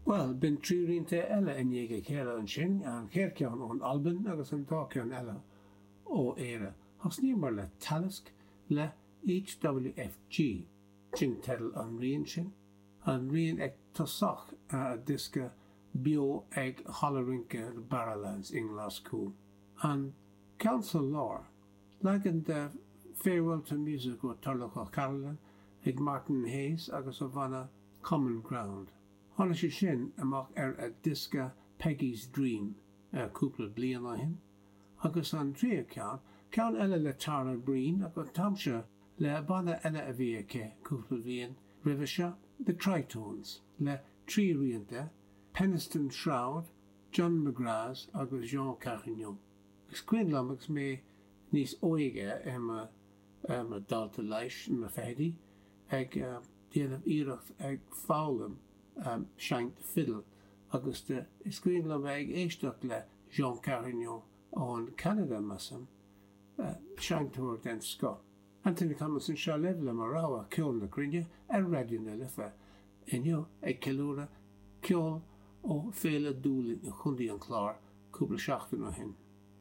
Bhuel, b'in 3 rianta eile i ndiaidh a chéile ansin, an chéad cheann ón Albain agus an dá cheann eile ó Éire. Thosnaíomar le Talisk le HWFG, sin teideal an riain sin, an rian ag tosach a diosca beo ag Halla Rince Barrowlands i nGlaschú. An ceann sa lár, leagan de Farewell to Music ó Turlough O'Carolan ag Martin Hayes agus a bhanna Common Ground. Tháinig sé sin amach ar a diosca Peggy's Dream cúpla bliain ó shin. Agus an tríú ceann, ceann eile le Tara Breen ach an t-am seo le banna eile a bhí aici cúpla bliain roimhe seo, The Tritones, le 3 rianta, Penistone Shroud, John McGrath agus Jean Carignon. Is cuimhin liom agus mé níos óige i mo dalta leighis i mo fichidí ag déanamh iarracht ag foghlaim seinnt fidil agus is cuimhin liom bheith ag éisteacht le Jean Carignon ón Ceanada, measaim, seinnteoir den scoth. Anthony Thomas anseo libh le mo rogha Ceol na Cruinne ar Raidió na Life inniu ag ceiliúradh ceol ó Féile Dúlainn i Chontae an Chláir cúpla seachtain ó shin.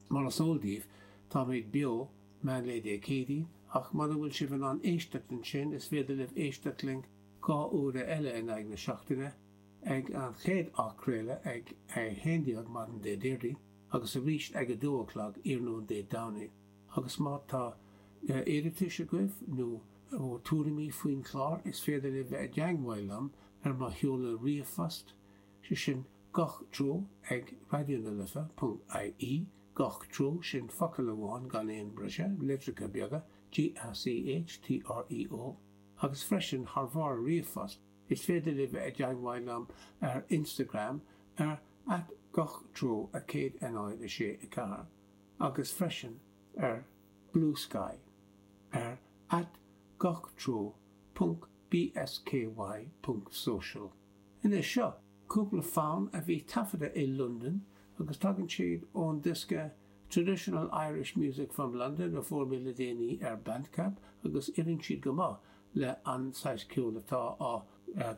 Mar is eol daoibh táimid beo meánlae Dé Céadaoin ach muna bhfuil sibh in ann éisteacht ansin is féidir libh éisteacht linn 2 uaire eile in aghaidh na seachtaine ag an chéad athchraoladh ag 11 maidin Dé Déardaoin agus arís ag 2 a chlog iarnóin Dé Domhnaigh. Agus má tá iarratais agaibh nó tuairimí faoin chlár is féidir libh bheith i dteangmháil liom ar mo sheoladh ríomhphost, sé sin gach treo ag raidionalife ponc ie, gach treo, sin focal amháin gan aon briseadh, litreacha beaga, G-A-C-H-T-R-E-O, agus freisin thar bharr ríomhphost is féidir libh bheith i dteangmháil liom ar Instagram ar at gach treo 1 0 6 4 agus freisin ar Bluesky ar at gach treo ponc bsky ponc social. Anois seo cúpla fonn a bhí taifeadta i Londain agus tagann siad ón diosca Traditional Irish Music from London a fuair mé le déanaí ar Bandcamp agus oireann siad go maith le an saghas ceoil atá á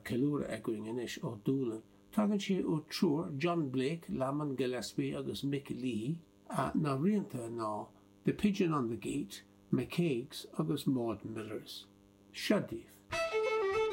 ceiliúradh againn anois ó Dúlainn. Tagann sé ó triúr, John Blake, Lamon Gillespie agus Mick Leahy. Na rianta ná The Pigeon on the Gate, McCagues agus Maud Millers. Seo daoibh.